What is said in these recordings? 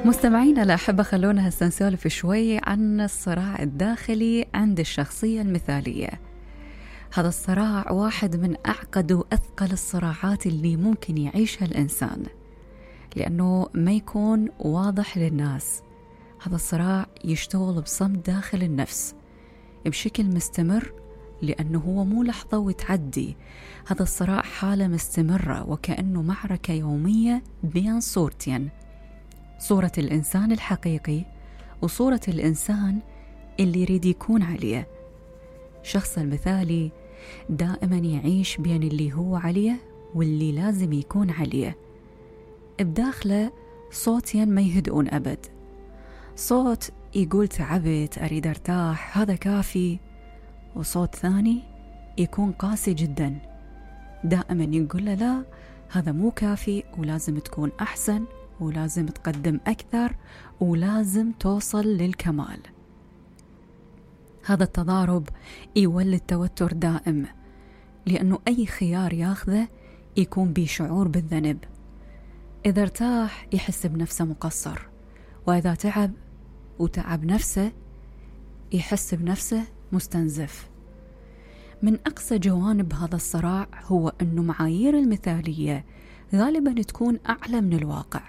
مستمعينا الأحبة، خلونا هسه نسولف شوي عن الصراع الداخلي عند الشخصية المثالية. هذا الصراع واحد من أعقد وأثقل الصراعات اللي ممكن يعيشها الإنسان، لأنه ما يكون واضح للناس. هذا الصراع يشتغل بصمت داخل النفس بشكل مستمر، لأنه هو مو لحظة وتعدي. هذا الصراع حالة مستمرة، وكأنه معركة يومية بين صورتين: صورة الإنسان الحقيقي وصورة الإنسان اللي يريد يكون عليه. الشخص المثالي دائما يعيش بين اللي هو عليه واللي لازم يكون عليه. بداخله صوتين ما يهدؤون أبد: صوت يقول تعبت، أريد أرتاح، هذا كافي. وصوت ثاني يكون قاسي جدا، دائما يقول له لا، هذا مو كافي، ولازم تكون أحسن، ولازم تقدم أكثر، ولازم توصل للكمال. هذا التضارب يولد توتر دائم، لأنه أي خيار ياخذه يكون بشعور بالذنب. إذا ارتاح يحس بنفسه مقصر، وإذا تعب نفسه يحس بنفسه مستنزف. من أقصى جوانب هذا الصراع هو أنه معايير المثالية غالبا تكون أعلى من الواقع.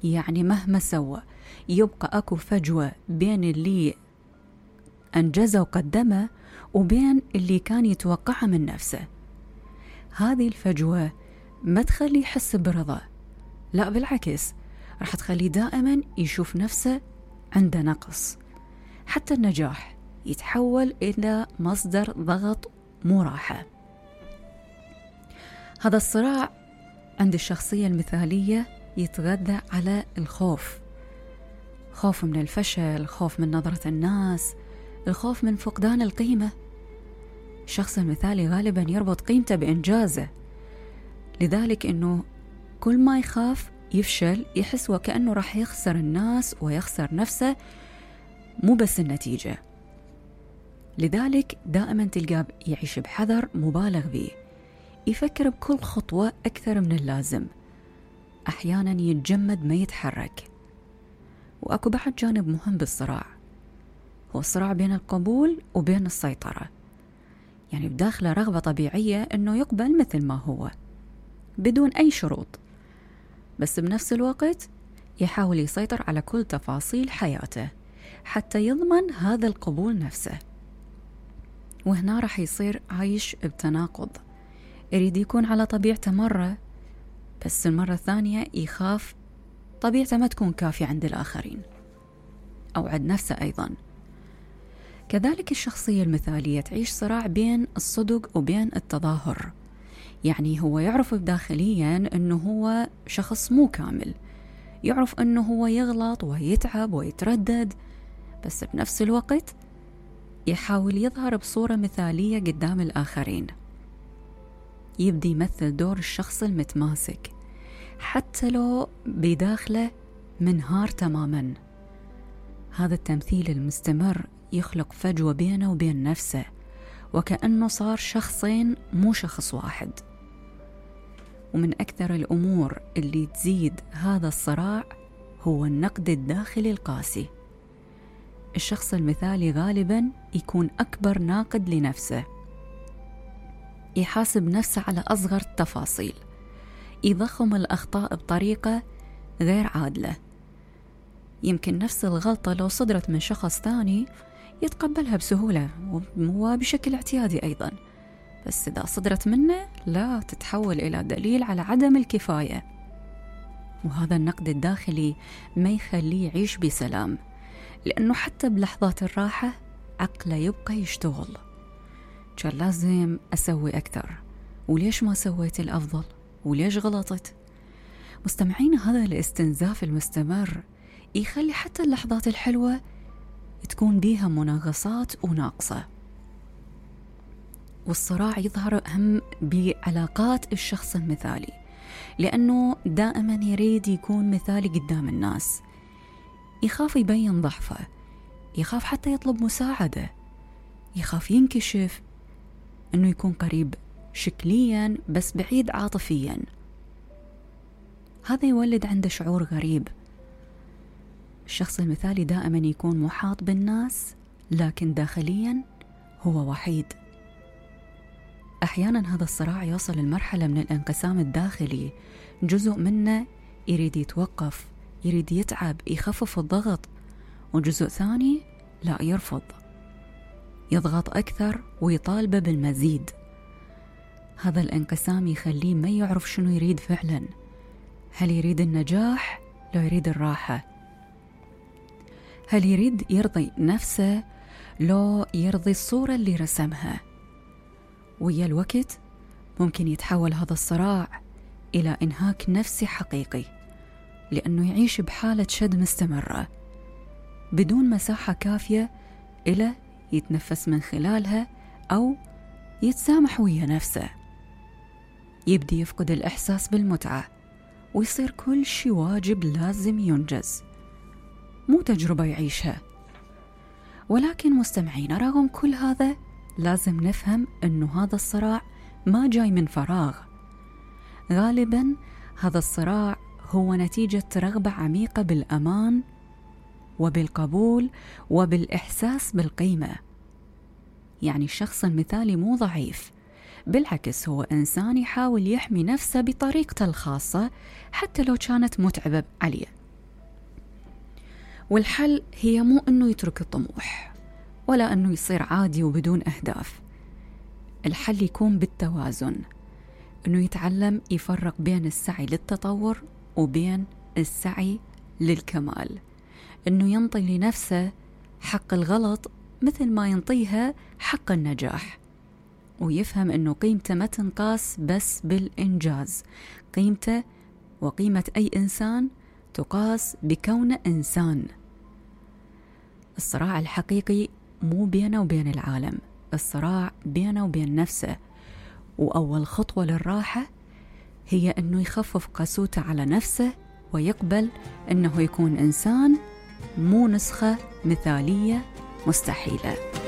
يعني مهما سوى يبقى أكو فجوة بين اللي أنجزه وقدمه وبين اللي كان يتوقعه من نفسه. هذه الفجوة ما تخليه يحس برضا، لا بالعكس، راح تخليه دائما يشوف نفسه عنده نقص. حتى النجاح يتحول إلى مصدر ضغط مو راحة. هذا الصراع عند الشخصية المثالية يتغذى على الخوف: خوف من الفشل، خوف من نظرة الناس، الخوف من فقدان القيمة. الشخص المثالي غالبا يربط قيمته بإنجازه، لذلك أنه كل ما يخاف يفشل يحس وكأنه راح يخسر الناس ويخسر نفسه، مو بس النتيجة. لذلك دائما تلقاه يعيش بحذر مبالغ به، يفكر بكل خطوة أكثر من اللازم، أحيانا يتجمد ما يتحرك. وأكو بعد جانب مهم بالصراع، هو الصراع بين القبول وبين السيطرة. يعني بداخله رغبة طبيعية أنه يقبل مثل ما هو بدون أي شروط، بس بنفس الوقت يحاول يسيطر على كل تفاصيل حياته حتى يضمن هذا القبول نفسه. وهنا راح يصير عايش بتناقض، يريد يكون على طبيعته مرة، بس المرة الثانية يخاف طبيعته ما تكون كافية عند الآخرين أو عند نفسه أيضا. كذلك الشخصية المثالية تعيش صراع بين الصدق وبين التظاهر. يعني هو يعرف داخليا أنه هو شخص مو كامل، يعرف أنه هو يغلط ويتعب ويتردد، بس بنفس الوقت يحاول يظهر بصورة مثالية قدام الآخرين. يبدي يمثل دور الشخص المتماسك حتى لو بداخله منهار تماما. هذا التمثيل المستمر يخلق فجوة بينه وبين نفسه، وكأنه صار شخصين مو شخص واحد. ومن أكثر الأمور اللي تزيد هذا الصراع هو النقد الداخلي القاسي. الشخص المثالي غالبا يكون أكبر ناقد لنفسه، يحاسب نفسه على أصغر التفاصيل، يضخم الأخطاء بطريقة غير عادلة. يمكن نفس الغلطة لو صدرت من شخص ثاني يتقبلها بسهولة وبشكل اعتيادي أيضا، بس إذا صدرت منه لا، تتحول إلى دليل على عدم الكفاية. وهذا النقد الداخلي ما يخليه يعيش بسلام، لأنه حتى بلحظات الراحة عقله يبقى يشتغل: كان لازم أسوي أكثر، وليش ما سويت الأفضل، وليش غلطت. مستمعين، هذا الاستنزاف المستمر يخلي حتى اللحظات الحلوة تكون بيها مناغصات وناقصة. والصراع يظهر أهم بعلاقات الشخص المثالي، لأنه دائما يريد يكون مثالي قدام الناس، يخاف يبين ضعفه، يخاف حتى يطلب مساعدة، يخاف ينكشف، أنه يكون قريب شكليا بس بعيد عاطفيا. هذا يولد عنده شعور غريب، الشخص المثالي دائما يكون محاط بالناس، لكن داخليا هو وحيد. أحيانا هذا الصراع يوصل لمرحلة من الانقسام الداخلي، جزء منه يريد يتوقف، يريد يتعب، يخفف الضغط، وجزء ثاني لا، يرفض، يضغط أكثر ويطالبه بالمزيد. هذا الانقسام يخليه ما يعرف شنو يريد فعلا، هل يريد النجاح لو يريد الراحة؟ هل يريد يرضي نفسه لو يرضي الصورة اللي رسمها؟ ويا الوقت ممكن يتحول هذا الصراع إلى إنهاك نفسي حقيقي، لأنه يعيش بحالة شد مستمرة بدون مساحة كافية إلى يتنفس من خلالها أو يتسامح ويا نفسه. يبدي يفقد الإحساس بالمتعة ويصير كل شي واجب لازم ينجز، مو تجربة يعيشها. ولكن مستمعين، رغم كل هذا لازم نفهم أنه هذا الصراع ما جاي من فراغ. غالبا هذا الصراع هو نتيجة رغبة عميقة بالأمان وبالقبول وبالإحساس بالقيمة. يعني الشخص المثالي مو ضعيف، بالعكس هو إنسان يحاول يحمي نفسه بطريقته الخاصة حتى لو كانت متعبة عليه. والحل هي مو أنه يترك الطموح ولا أنه يصير عادي وبدون أهداف. الحل يكون بالتوازن، أنه يتعلم يفرق بين السعي للتطور وبين السعي للكمال، أنه ينطي لنفسه حق الغلط مثل ما ينطيها حق النجاح، ويفهم أنه قيمته ما تنقاس بس بالإنجاز، قيمته وقيمة أي إنسان تقاس بكونه إنسان. الصراع الحقيقي مو بينه وبين العالم، الصراع بينه وبين نفسه. وأول خطوة للراحة هي أنه يخفف قسوته على نفسه ويقبل أنه يكون إنسان، مو نسخة مثالية مستحيلة.